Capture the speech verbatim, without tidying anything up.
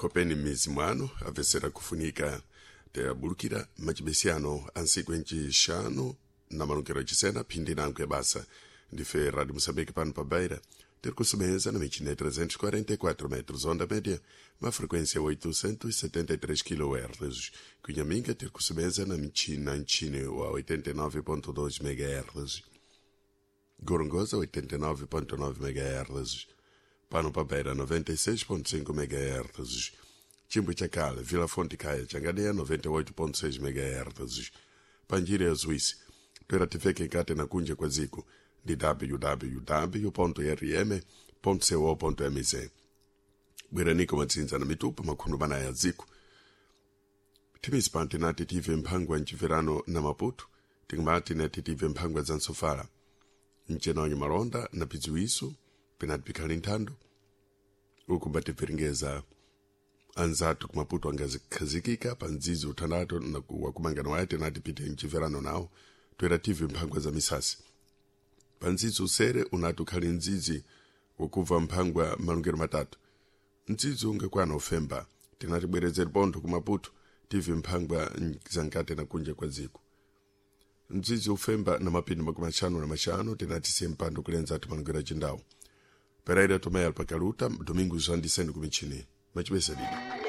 Khopeni m'mizi mwanu apesera kufunika teyabulukira macibesiyano a ntsiku encixanu na malungero acisena phindi nanku ya basa. Ndife Rádio Moçambique pano pa Beira, ter kusumeza na michina trezentos e quarenta e quatro metros onda média, uma frequência oitocentos e setenta e três quilohertz. Cunhaminga ter kusumeza na michina nchini wa oitenta e nove ponto dois megahertz. Gorongosa oitenta e nove ponto nove megahertz. Pano pa Beira noventa e seis ponto cinco megahertz. Chimbo Chakala, Vila Fonte Caia, Changadeia noventa e oito ponto seis megahertz. Panjira ya Suíça. Toera tifeke nkate na kunja kwa ziko ndi w w w ponto r m ponto co ponto m z. Bweraniko matsinza na mitupa makhundu mana ya dziko. Thimisi pano tinati tive mphangwa mcibverano na Maputo, tikumati nati tive mphangwa za nsofala mcenaonye malonda na pidziwiso penati pikhali nthando uku mbatibveringeza anzathu kumaputo angazikhazikika pa mdzidzi uthandato na wakumangano waye tinati pite mcibverano nawo toera tive mphangwa za misasi. Pa mdzidzi usere unati ukhali mdzidzi wakubva mphangwa malungero matatu, mdzidzi ungakwana ufemba. Tinati bwerezeri pontho kumaputo tive mphangwa zankate na kunja kwa dziko. Mdzidzi ufemba na mapindi makumi axanu na maxanu tinati siye mpando kulenza ati malungero acindawo. Pereira Tomé Alpakaluta, Domingos Andicendo kumichini. Machibesa didi.